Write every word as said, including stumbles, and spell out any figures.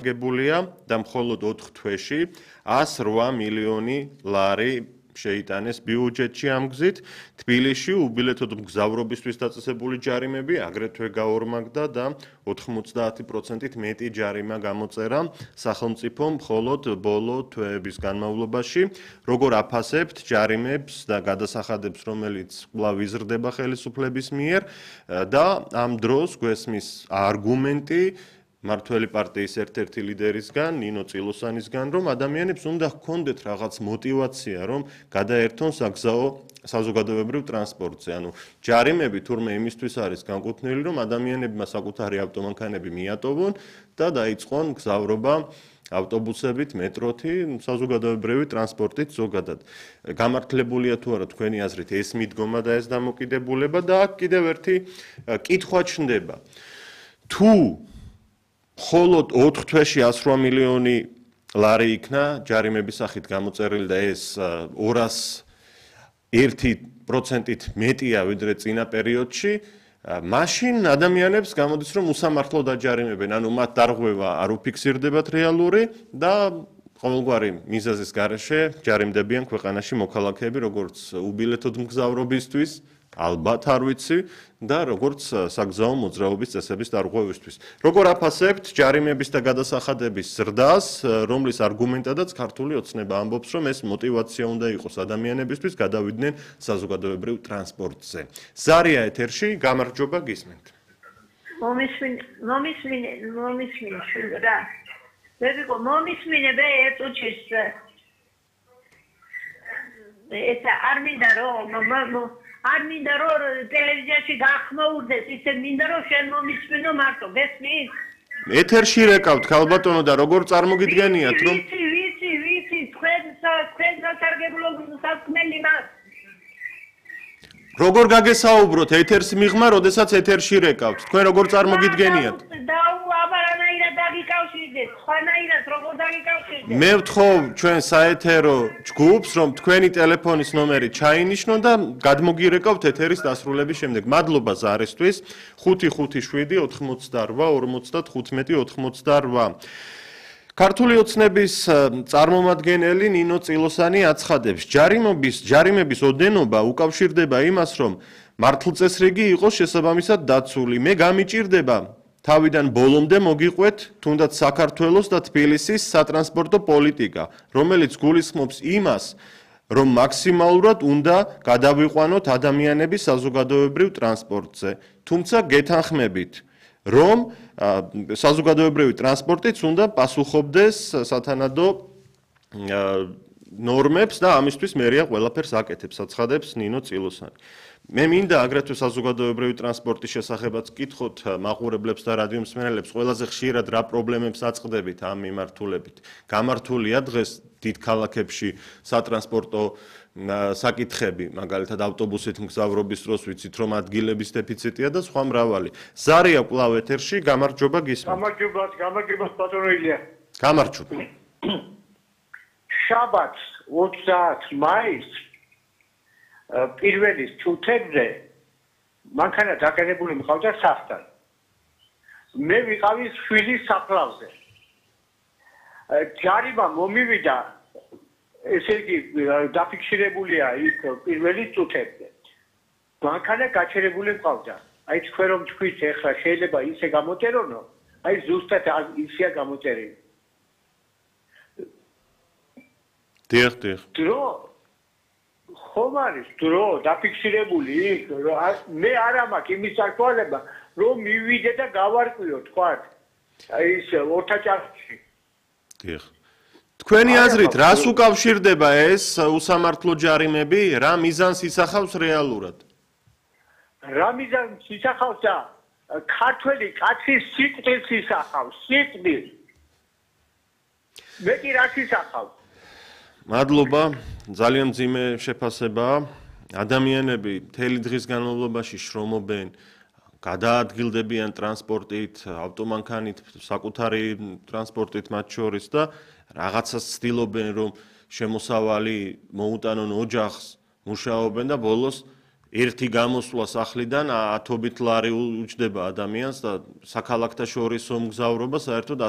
გებულია და მხოლოდ ოთხ თვეში ას რვა მილიონი ლარი შეიტანეს ბიუჯეტში ამ გზით. თბილისში უბილეთოდ მგზავრობისთვის დაწესებული ჯარიმები აგრეთვე გაორმაგდა და ოთხმოცდაათი პროცენტით მეტი ჯარიმა გამოწერა სახელმწიფომ მხოლოდ ბოლო თვეების განმავლობაში. როგორ აფასებთ ჯარიმებს და გადასახადებს, რომელიც კვლავ იზრდება ხელისუფლების მიერ და ამ დროს გვესმის არგუმენტი მართველი პარტიის ერთ-ერთი ლიდერისგან, ნინო წილოსანისგან, რომ ადამიანებს უნდა ჰქონდეთ რაღაც мотиваცია, რომ გადაერთონ საგზაო საზოგადოებრივ ტრანსპორტზე. ანუ ჯარიმები თურმე იმისთვის არის განკუთვნილი, რომ ადამიანებმა საკუთარი ავტომანქანები მიატოვონ და დაიწყონ გზავრობა ავტობუსებით, მეტროთი, საზოგადოებრივი ტრანსპორტით ზოგადად. გამართლებულია თუ არა თქვენი აზრით ეს მიდგომა და ეს დამოკიდებულება და აქ კიდევ ერთი კითხვა ჩნდება. თუ მხოლოდ ოთხ თვეში ას რვა მილიონი ლარი იქნა ჯარიმების სახით გამოწერილი და ეს ორას ერთი პროცენტით მეტია ვიდრე წინა პერიოდში, მაშინ ადამიანებს გამოდის რომ უსამართლო დაჯარიმებენ, ანუ მათ დარღვევა არ უფიქსირდებათ რეალური და ყოველგვარი მიზეზის გარეშე ჯარიმდებიან ქვეყანაში მოქალაქეები, როგორც უბილეთოდ მგზავრობისთვის, ალბათ არ ვიცი და როგორც საგზაო მოძრაობის წესების დარღვევისთვის. როგორ აფასებთ ჯარიმების და გადასახადების ზრდას, რომლის არგუმენტადაც ქართული ოცნება ამბობს, რომ ეს мотиваცია უნდა იყოს ადამიანებისთვის გადავიდნენ საზოგადოებრივ ტრანსპორტზე. ზარია ეთერში, გამარჯობა, გისმენთ. მომისმინე, მომისმინე, მომისმინე რა. ვერიკო, მომისმინე ბე ერთუჩის. ესა არ მინდა რომ არ მინდა რომ ტელევიზიაში გახმაურდეს, ისე მინდა რომ შენ მომისმინო მარტო, გესმის? ეთერში რეკავთ ქალბატონო და როგორ წარმოგიდგენიათ რომ ვიცი, ვიცი, ვიცი, თქვენ თქვენ სასარგებლო საქმელი მას. როგორ გაგესაუბროთ ეთერს მიღმა, როდესაც ეთერში რეკავთ? თქვენ როგორ წარმოგიდგენიათ? დაუ აბარანაირად დაგიკავშირდეთ, ხანაირად როგორ დაგიკავშირდეთ? მე ვთხოვ ჩვენ საეთერო ჯგუფს, რომ თქვენი ტელეფონის ნომერი ჩაინიშნონ და გადმოგირეკავთ ეთერის დასრულების შემდეგ. მადლობა ზარისთვის. ხუთი ხუთი შვიდი ოთხმოცდარვა ორმოცდათხუთმეტი ოთხმოცდარვა. ქართული ოცნების წარმომადგენელი ნინო წილოსანი აცხადებს, ჯარიმების ჯარიმების ოდენობა უკავშირდება იმას, რომ მართლწესრიგი იყოს შესაბამისად დაცული. მე გამიჭირდება თავიდან ბოლომდე მოგიყვეთ თუნდაც საქართველოს და თბილისის სატრანსპორტო პოლიტიკა, რომელიც გულისხმობს იმას, რომ მაქსიმალურად უნდა გადავიყვანოთ ადამიანები საზოგადოებრივ ტრანსპორტზე. თუმცა გეთანხმებით, რომ საზოგადოებრივი ტრანსპორტიც უნდა პასუხობდეს სათანადო ნორმებს და ამისთვის მერია ყველაფერს აკეთებს, აცხადებს ნინო წილოსანი. მე მინდა აგრეთვე საზოგადოებრივი ტრანსპორტის შესახებაც კითხოთ მაყურებლებს და რადიო მსმენელებს, ყველაზე ხშირად რა პრობლემებს აწყდებით ამ მიმართულებით. გამართულია დღეს დიდ ქალაქებში სატრანსპორტო საკითხები, მაგალითად ავტობუსით მგზავრობის დროს ვიცით, რომ ადგილების დეფიციტია და სხვა მრავალი. ზარია კვლავ ეთერში, გამარჯობა, გისმენთ. გამარჯობა, გამარჯობა ბატონო ილია. გამარჯობა. შაბათს ოცდაათი მაისს პირველი თუთებზე მანქანა დაკერებული მყავდა საფთან. მე ვიყავი შვილის საფლავზე. ჯარიმა მომივიდა, ესე იგი დაფიქსირებულია იქ პირველი თუთებზე. მანქანა გაჩერებული მყავდა. აი თქვენ რომ თქვით ეხლა შეიძლება ისე გამოტერონო, აი ზუსტად ისეა გამოტერილი. დიახ, დიახ. დრო ხომ არის დრო დაფიქსირებული იქ, მე არა მაქვს იმის საშუალება, რომ მივიდე და გავარკვიო, თქვათ. აი ის ორთაჭარში. დიახ. თქვენი აზრით, რას უკავშირდება ეს უსამართლო ჯარიმები, რა მიზანს ისახავს რეალურად? რა მიზანს ისახავს და ქართველი კაცის სიკვდილს ისახავს, სიკვდილს. მე კი რას ისახავს? მადლობა, ძალიან მძიმე შეფასებაა. ადამიანები მთელი დღის განმავლობაში შრომობენ, გადაადგილდებიან ტრანსპორტით, ავტომანქანით, საკუთარი ტრანსპორტით მათ შორის და რაღაცას ცდილობენ, რომ შემოსავალი მოუტანონ ოჯახს, მუშაობენ და ბოლოს ერთი გამოსვლა სახლიდან ათობით ლარი უჯდება ადამიანს და საქალაქთა შორისო მგზავრობა საერთოდ